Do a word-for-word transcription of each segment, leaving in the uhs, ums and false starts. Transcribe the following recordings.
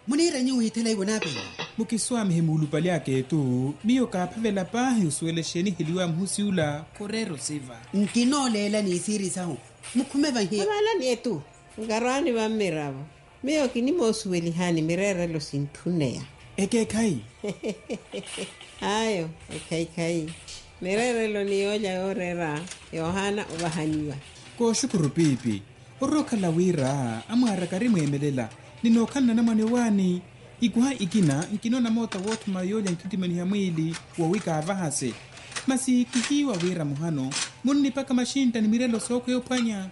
Muniira nyuwo withela iwo naapela. Mukiswaamihe muulupali aka etu. Miyo kaaphavela paahi osuwela exeeni eheliwa muhusi ula. Khureera osiva. Nkinooleela ni isiiri sahu. Mukhume vahi. Avaalani etu. Nkarwaani vammiravo. Miyo kinimoosuwelihani mireerelo sintthuneya. Ekeekhayi. Ayo. Ekeekhayi. Mireerelo ni yoolya yooreera yoohaana ovahaniwa. Kooxukuru piipi. Orookhala wira amwaaraka arimweemelela. Ninookhala nanamwane waani. Ikuha ikina nkinoona moota woothuma yoolya nkhitimaniha mwiili. Wowi kaavahase. Masi kihiiwa wira muhano munnipaka maxintta ni mirelo sookhweya ophwanya.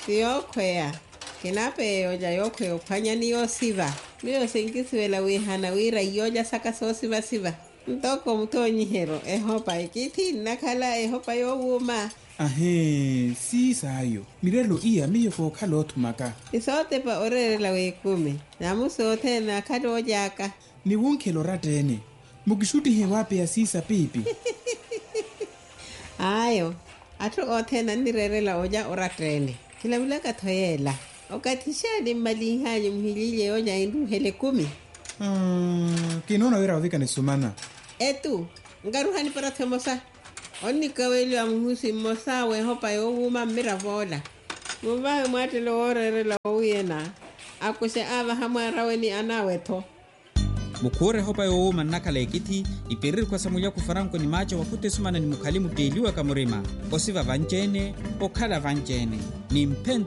Ti yookhweya. Kinaapeya yoolya yookhweya ophwanya ni yoosiva. Miyo sinkisuwela wiihana wira iyoolya saka soosivasiva. Ntoko mutoonyiheryo ehopa ekithi nnakhala ehopa yoowuuma. Ahee siisaayo. Mirelo iya miyo kookhala oothumaka. Isootepa oreerela w'ekumi. Namusi othene akhala ooly'aka. Niwunkhela oratta-ene. Mukixuttihe waapeya siisa piipi. Ayo. Atthu othene annireerela olya oratta-ene. Khilavulaka-tho yeela. Okathi xeeni mmalinh'anyu muhililye yoolya enruuhela ekumi. Kinoona wira ovika nisumana. Etu. Nkaruha niparathi emosa. Onnikaweliwa muhusi mmosa w'ehopa yoowuuma mmirav'ola. Munvahe mwaattelo wooreerela wowiyena. Akuxe aavaha mwaarawe ni anaawe-tho. Mukhuura ehopa yoowuuma nnakhala ekithi. Ipiririkhwa sa mulyaku faranko ni maaca wakhuta esumana ni mukhali mutteeliwaka murima. Osiva vanci-ene. Okhala vanci-ene. Ni mphento.